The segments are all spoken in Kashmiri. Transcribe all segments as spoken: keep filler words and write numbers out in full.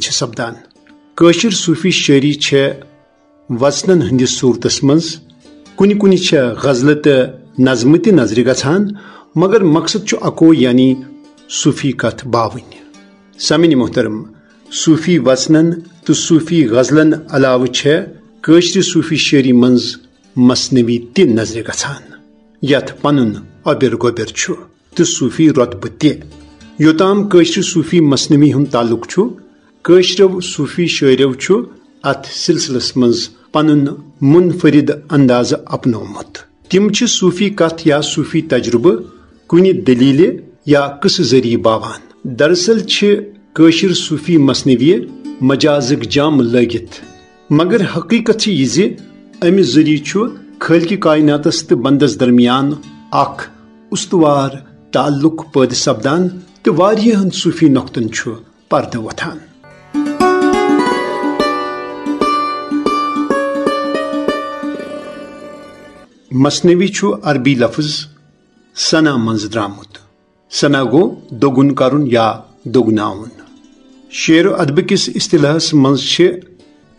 چھِ سپدان۔ کٲشِر صوٗفی شٲعری چھےٚ وژنن ہٕنٛدِس صوٗرتس منٛز، کُنہِ کُنہِ چھےٚ غزلہٕ تہٕ نظمہٕ تہِ نظرِ گژھان، مگر مقصد چھُ اکوے، یعنی صوٗفی کتھ باوٕنۍ۔ سامعین محترم، صوٗفی وژنن تہٕ صوٗفی غزلن علاوٕ چھےٚ کٲشرِ صوٗفی شٲعری منٛز مثنوی تہِ نظرِ گژھان، یتھ پنُن اوٚبِر گوٚبِر چھُ تہٕ صوٗفی رۄتبہٕ تہِ۔ یوٚتام کٲشرِ صوٗفی مثنوی ہُنٛد تعلق چھُ، کٲشرٮ۪و صوٗفی شٲعرٮ۪و چھُ اتھ سلسلس منٛز پنُن منفرد اندازٕ اپنومُت۔ تِم چھِ صوٗفی کتھ یا صوٗفی تجربہٕ کُنہِ دٔلیٖلہِ یا قصہٕ ذٔریعہٕ باوان۔ دراصل چھِ کٲشِر صوٗفی مثنوی مجازٕک جام لٲگِتھ، مگر حقیقت چھِ یہِ زِ امہِ ذٔریعہٕ چھُ خٲلقِ کائناتس تہٕ بندس درمیان اکھ استوار تعلق پٲدٕ سپدان تہٕ واریاہن صوٗفی نۄقطن چھُ پردٕ وۄتھان۔ مثنوی چھُ عربی لفظ ثنا منٛز درامُت۔ ثنا گوٚو دوٚگُن کرُن یا دوٚگناوُن۔ شعر و ادبہٕ کِس اصطلاحس منٛز چھِ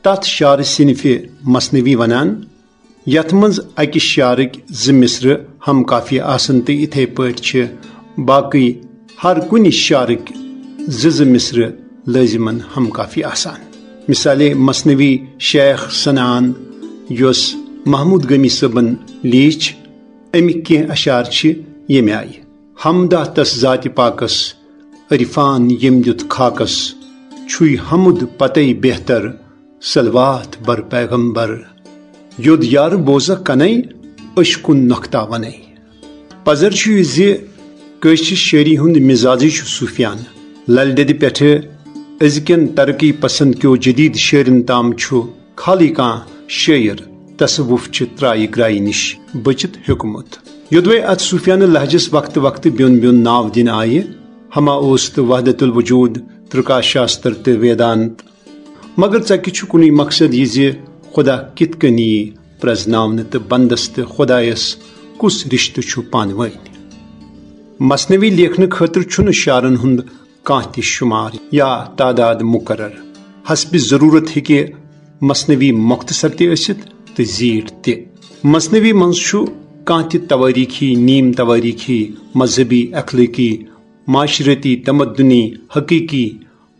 تتھ شعر صنفہِ مثنوی ونان، یتھ منٛز اکہِ شعرٕکۍ زٕ مصرٕ ہم قافیہ آسن تہٕ یِتھے پٲٹھۍ چھِ باقٕے ہر کُنہِ شعرٕکۍ زٕ زٕ مصرٕ لٲزمن ہم قافیہ آسان۔ مثالے مثنوی شیخ ثناہن، یۄس محمود گمی صٲبن لیٖچھ، اَمِکۍ کینٛہہ اشعار چھِ ییٚمہِ آیہِ: حمدہ تس ذاتِ پاکس، عرفان ییٚمۍ دیُت خاکس، چھُے حمد پتے بہتر، صلوات بر پیغمبر۔ یوٚد یارٕ بوزہ کنے، أچھ کُن نۄختہ ونے۔ پزر چھُ یہِ زِ کٲشرِ شٲعری ہُنٛد مزازٕے چھُ صوٗفیانہٕ۔ للہِ دٮ۪دِ پٮ۪ٹھٕ أزکٮ۪ن ترقی پسند کیو جدید شٲعرن تام چھُ خالٕے کانٛہہ شٲعر تصوف چہِ ترایہِ گرایہِ نِش بٔچِتھ ہیوٚکمُت۔ یوٚدوے اتھ صوٗفیانہٕ لہجس وقتہٕ وقتہٕ بیوٚن بیوٚن ناو دِنہٕ آیہِ، ہما اوس تہٕ وحدت الوجود، ترکا شاستر تہٕ ویدانت۔ مگر ژکہِ چھُ کُنُے مقصد یہِ زِ خدا کِتھ کٔنۍ یی پرزناونہٕ تہٕ بندس تہٕ خدایس کُس رشتہٕ چھُ پانہٕ وٲنۍ۔ مثنوی لیکھنہٕ خٲطرٕ چھُنہٕ شعرن ہُنٛد کانٛہہ تہِ شمار یا تعداد مقرر۔ حسب ضرورت ہیٚکہِ مثنوی مختصر تہِ ٲسِتھ تہٕ زیٖٹھ تہِ۔ مثنوی منٛز چھُ کانٛہہ تہِ توٲریٖخی، نیم توٲریٖخی، مذہبی، اخلٲقی، معاشرتی، تمدنی، حقیقی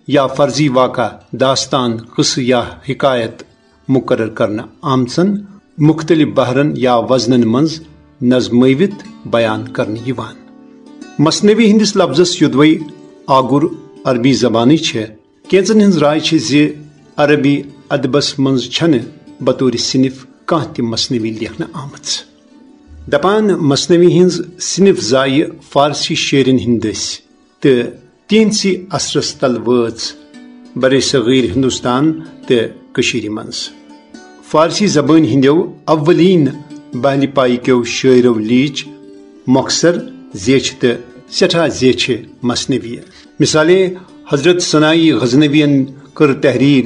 یا فرضی واقعہ، داستان، قصہٕ یا حکایت مقرر کرنہٕ آمژن مختلف بحرن یا وزنن منٛز نظمٲوِتھ بیان کرنہٕ یِوان۔ مثنوی ہٕنٛدِس لفظس یوٚدوے آگُر عربی زبانٕے چھےٚ، کینٛژن ہٕنٛز راے چھےٚ زِ عربی ادبس منٛز چھنہٕ بطور صنف کانٛہہ تہِ مثنوی لیکھنہٕ آمٕژ۔ دپان، مثنوی ہٕنٛز صنف زایہِ فارسی شٲعرن ہٕنٛدۍ دٔسۍ تہٕ تِہنٛدسٕے اثرس تل وٲژ برصغیر ہندوستان تہٕ کٔشیٖرِ منٛز۔ فارسی زبٲنۍ ہٕنٛدیو اولین بحلِ پایہِ کیو شٲعرو لیٖچھ مۄخصر، زیچھِ تہٕ سٮ۪ٹھاہ زیچھِ مثنوی۔ مثالے، حضرت ثنائی غزنوین کٔر تحریر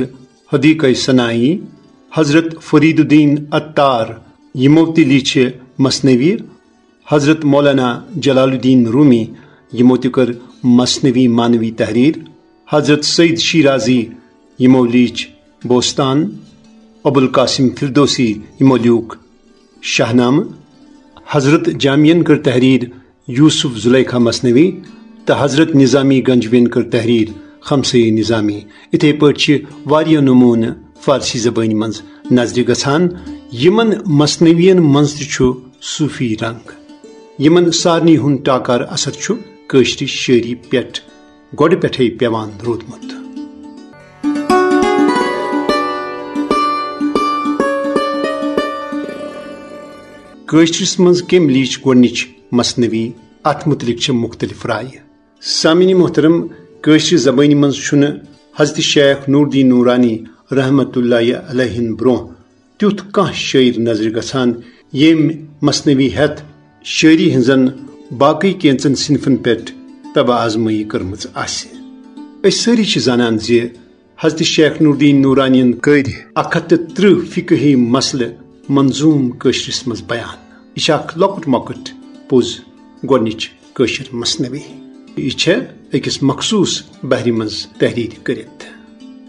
حدیقہ ثنائی، حضرت فرید الدین عطار، یِمو تہِ لیٖچھِ مثنوی، حضرت مولانا جلال الدین رومی، یِمو تہِ کٔر مثنوی معنوی تحریر، حضرت سید شیرازی، یِمو لیٖچھ بوستان، ابوالقاسم فردوسی، یِمو لیوٗکھ شاہنامہٕ، حضرت جامین کٔر تحریر یوسف زلیخا مثنوی، تہٕ حضرت نظامی گنجوین کٔر تحریر خمسہ نظامی۔ یِتھے پٲٹھۍ چھِ واریاہ نموٗنہٕ فارسی زبٲنۍ منٛز نظرِ گژھان۔ یِمن مثنوین منٛز تہِ چھُ صوفی رنگ۔ یِمن سارنٕے ہُنٛد ٹاکار اثر چھُ کٲشرِ شٲعری پٮ۪ٹھ گۄڈٕ پٮ۪ٹھے پٮ۪وان روٗدمُت۔ کٲشرِس منٛز کٔمۍ لیٖچھ گۄڈٕنِچ مثنوی؟ اتھ متعلق چھِ مختلف رایہِ۔ سامعین محترم، کٲشرِ زبٲنۍ منٛز چھُنہٕ حضرت شیخ نور الدین نورانی رحمت اللہ علیہ ہن برونٛہہ تیُتھ کانٛہہ شٲعر نظرِ گژھان، ییٚمۍ مثنوی ہٮ۪تھ شٲعری ہٕنٛزن باقٕے کینٛژن صنفن پٮ۪ٹھ طبع آزمٲیی کٔرمٕژ آسہِ۔ أسۍ سٲری چھِ زانان زِ حضرت شیخ نور الدین نورانین کٔرۍ اکھ ہتھ تہٕ ترٕٛہ فقہی مسلہٕ منظوم کٲشرِس منٛز بیان۔ یہِ چھِ اکھ لۄکُٹ مۄکُٹ پوٚز گۄڈٕنِچ کٲشِر مثنوی۔ یہِ چھےٚ أکِس مخصوٗص بحرِ منٛز تحریر کٔرِتھ۔